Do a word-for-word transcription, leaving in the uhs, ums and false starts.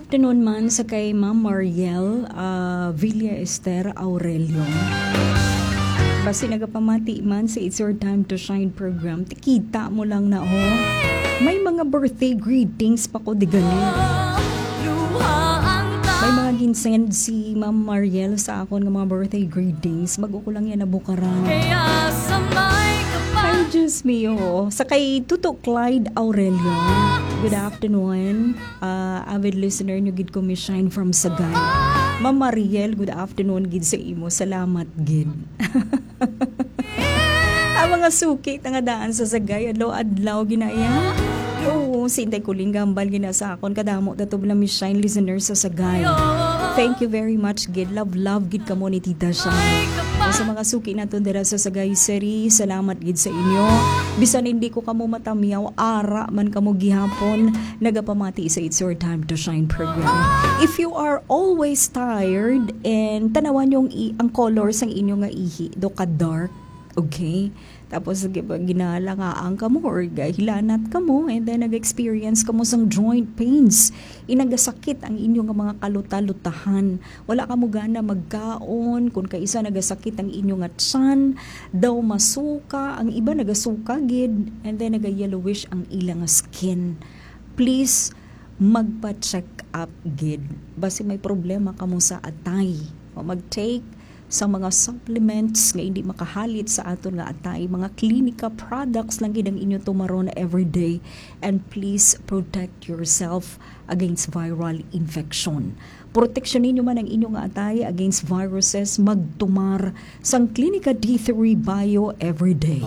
Afternoon man sa kay Ma'am Mariel, ah, Villa Esther Aurelio. Basi nagapamati man sa It's Your Time to Shine program, tikita mo lang na, oh. May mga birthday greetings pa ko di gani. May mga ginsend si Ma'am Mariel sa akon nga mga birthday greetings. Bago ko lang yan nabukaran. Ay, Diyos mio. Sa kay Tuto Clyde Aurelio, good afternoon. Ah, avid listener nyo gid ko, Miss Shine from Sagay. Ma'am Mariel, good afternoon gid sa imo. Salamat gid. Ang mga suki nga daan sa Sagay, adlaw-adlaw ginaya. Oo, si Inday Kuling Gambal gina sa akon. Kadamo dato bala, Miss Shine, listener sa Sagay. Thank you very much gid. Love, love gid kamo ni Tita Shine. O sa mga suki naton dira sa Sagay City, salamat gid sa inyo. Bisan hindi ko kamo matamiyaw, ara man kamo gihapon nagapamati sa It's Your Time to Shine program. If you are always tired and tanawan yung i- ang color sang inyo nga ihi, do ka dark, okay? Tapos gi- ginalangaang kamo or ga- hilanat kamo, and then nag-experience kamo sang joint pains. Inagasakit ang inyo nga mga kaluta-lutahan. Wala kamo gana magkaon, kung kaisa nagasakit ang inyo nga tiyan, daw masuka, ang iba nagasuka gid, and then naga-yellowish ang ilang skin. Please, magpa-check up gid. Basi may problema kamo sa atay. O mag-take sa mga supplements nga hindi makahalit sa aton nga atay, mga Clinica products lang gid ang inyo tumaron everyday. And please protect yourself against viral infection. Proteksyon ninyo man ang inyo nga atay against viruses, magtumar sang Clinica D three Bio everyday.